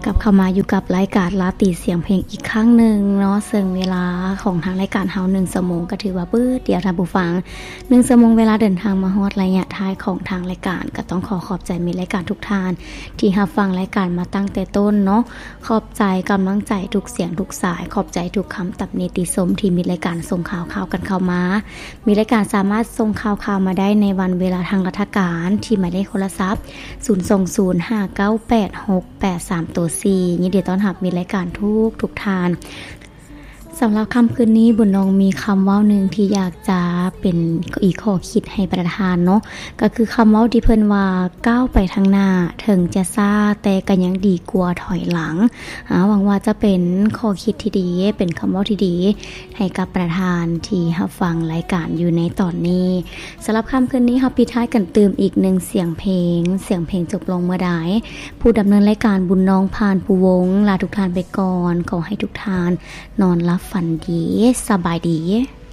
ກັບເຂົ້າມາຢູ່ກັບລາຍການລາຕີສຽງເພງອີກຄັ້ງໜຶ່ງເນາະ ເຊິ່ງເວລາຂອງທາງລາຍການເຮົາໜຶ່ງຊົ່ວໂມງ ກໍຖືວ່າປຶດດຽວທ່ານຜູ້ຟັງ ໜຶ່ງຊົ່ວໂມງເວລາເດີນທາງມາຮອດໄລຍະທ້າຍຂອງທາງລາຍການ ກໍຕ້ອງຂໍຂອບໃຈມິດລາຍການທຸກທ່ານ ທີ່ຮັບຟັງລາຍການມາຕັ້ງແຕ່ຕົ້ນເນາະ ຂອບໃຈກຳລັງໃຈທຸກສຽງທຸກສາຍ ຂອບໃຈທຸກຄຳຕຳນິຕິຊົມທີ່ມິດລາຍການສົ່ງຂ່າວຄາວກັນເຂົ້າມາ. ມິດລາຍການສາມາດສົ່ງຂ່າວຄາວມາໄດ້ໃນວັນເວລາທາງລັດຖະການ ທີ່ໝາຍເລກໂທລະສັບ ສູນສອງສູນຫ້າເກົ້າແປດຫົກແປດສາມໂຕສີ່ ຍິນດີຕ້ອນຮັບມິດລາຍການທຸກໆທ່ານ. ສຳລັບຄ່ຳຄືນນີ້ ບຸນນອງມີຄຳເວົ້າໜຶ່ງທີ່ຢາກຈະເປັນອີກຂໍ້ຄິດໃຫ້ປະທານເນາະ ກໍຄືຄຳເວົ້າທີ່ເພິ່ນວ່າ ກ້າວໄປທາງໜ້າ ເຖິງຈະຊ້າ ແຕ່ກໍຍັງດີກວ່າຖອຍຫຼັງ. ອາ ຫວັງວ່າຈະເປັນຂໍ້ຄິດທີ່ດີ ເປັນຄຳເວົ້າທີ່ດີ ໃຫ້ກັບປະທານທີ່ຮັບຟັງລາຍການຢູ່ໃນຕອນນີ້. ສຳລັບຄ່ຳຄືນນີ້ ເຮົາປິດທ້າຍກັນຕື່ມອີກໜຶ່ງສຽງເພງ, ສຽງເພງຈົບລົງເມື່ອໃດ, ຜູ້ດຳເນີນລາຍການ ບຸນນອງ ພານພູວົງ ລາທຸກທ່ານໄປກ່ອນ, ຂໍໃຫ້ທຸກທ່ານນອນຫຼັບຝັນດີ, ສະບາຍດີ.